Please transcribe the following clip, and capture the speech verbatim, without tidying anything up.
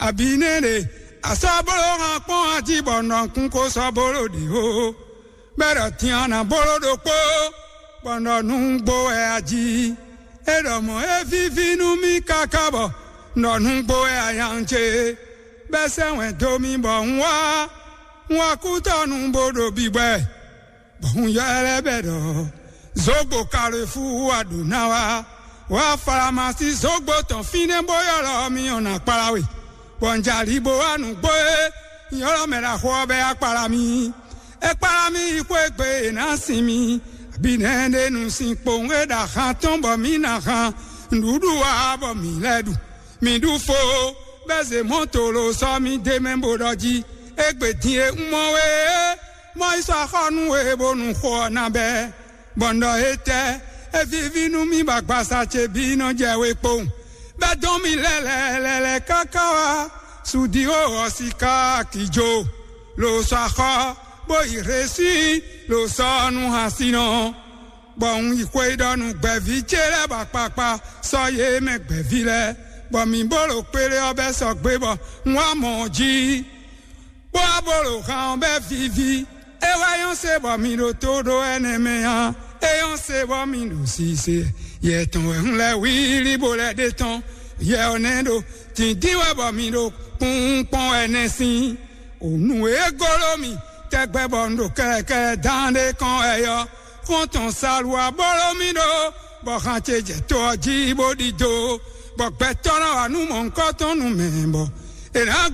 Abǐ nɛ́ ɖe, a sɔ́ bló hán kpɔ́n ají bɔ nɔ kún ko sɔ́ bló ɖě ó. Bɛ́ ɖɔ din a nǎ bló ɖokpó, bɔ nɔ nú gbó wɛ ají. É ɖɔ mɔ̌ é víví nú mì káká bɔ nɔ nú gbó wɛ ayan ce. Bɛ́ sɛ́ wɛn dó mì bɔ un wá, un wá kútɔ́ nú bó ɖo bíbwɛ. Bɔ un ylɔ́ lɛ́ bɛ ɖɔ zǒgbo Kalefúu wá ɖo ná wá. Wá Falamasi zǒgbo tɔn fínɛ́ bó ylɔ́ mì ɔ́ ná kplá we. Bɔ un jɛ ali bó wá nǔgbó e un ylɔ́ mɛ ɖaxó ɔ́ bɛ wá kplá mì. É kplá mì yi xwé gbe è nǎ sin mì. Abǐ nɛ́ ɖé nu sin kpowun e ɖo ahan tɔn bɔ mǐ ná han nǔɖuɖu wá bɔ mǐ lɛ́ ɖu. Mǐ ɖu fo, bɛ́ zě mɔ̌ tolo sɔ́ mì d'é mɛ bó ɖɔ jí: Égbé din e un mɔ we é, mɔ yi sɔ́ axɔ́ nú we bónú xó ɔ́ ná bɛ́. Bɔ un ɖɔ: Étɛ́, é víví nú mì bɔ agbaza ce bǐ nɔ jɛ we kpowun. Bɛ́ dɔn mì lɛ́lɛ́lɛ́ káká wá Sudiwo ɔ́ síká akijo, lo sɔ́ axɔ́, bó yi Hlesí, lo sɔ́ nú Hasinɔ. Bɔ un yi xweyíɖɔ nú gbɛ̌ví ce lɛ́ɛ bɔ akpakpa sɔ́ yě mɛ gbɛ̌ví lɛ́ɛ, bɔ mǐ bó ɖo kpéɖé ɔ́ bɛ́ sɔgbe bɔ un wá mɔ ɔ́ jí, bó wá bó ɖo han ɔ́ bɛ́ víví. É wá nyɔ́ se bɔ mǐ ɖo tó ɖó ɛnɛ mɛ ǎ. É nyɔ́ se bɔ mǐ ɖo sise. Yɛ tɔn wɛ un lɛ́ wlí bó lɛ́ ɖe tɔn. Yɛ ɔ́ nɛ́ ɖo dǐndín wɛ bɔ mǐ ɖo kpúnkpɔ́n ɛnɛ sín. Nǔ e golo mì tɛgbɛ bɔ un ɖo kɛlɛkɛlɛ dán ɖé kɔn wɛ ɔ́, xɔ́ntɔn Salu aboló mì ɖó, bɔ han ce jɛ to ɔ́ jí bó ɖidó, bɔ gbɛtɔ́ ná wá nú mɔ̌hunkɔtɔn nú mɛ, bɔ è nǎ gɔn